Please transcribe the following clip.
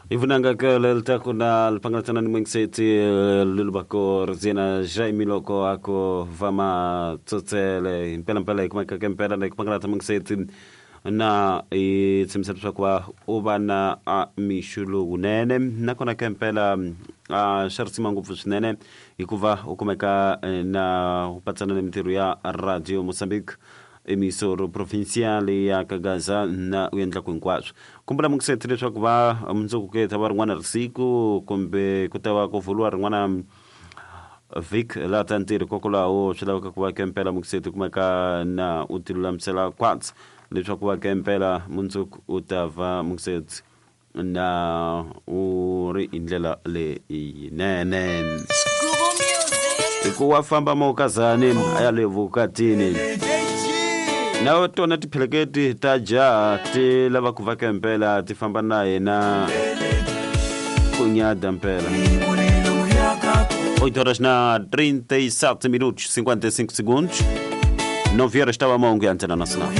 Ivunanga lelitaku na lipangalatsana ni mwengiseti lulubako rzina Jaime loko ako vama tsotsele impela mpela ikumeka ke mpela na ikupangalatsa mwengiseti na i tshembisa leswaku va u va na a mixo lowunene nakona ke mpela a swa risima ngopfu swinene hikuva u kumeka na u patsana ni mintirho ya Radio Mozambique emisoro provincial ya Kagaza na u endlaku hinkwaswo. Kumbula mungiseti leswaku va mundzuku ku ta va rin'wana risiku kumbe ku ta va ku vuriwa rin'wana vhiki laha ta ntirho hikokwalaho swi laveka ku va ke mpela mungiseti kumeka na u ti lulamisela kwatsi leswaku va ke mpela mundzuku u ta va mungiseti na u ri hi ndlela leyinene hi ku wa famba mawukazani a ya le vukatini na tona tipheleketi ta jaha ti lava ku va mpela ti famba na yena ku nyada mpela. 8 horas na 37 minutos 55 segundos. 9 horas estava a mão Antena Nacional.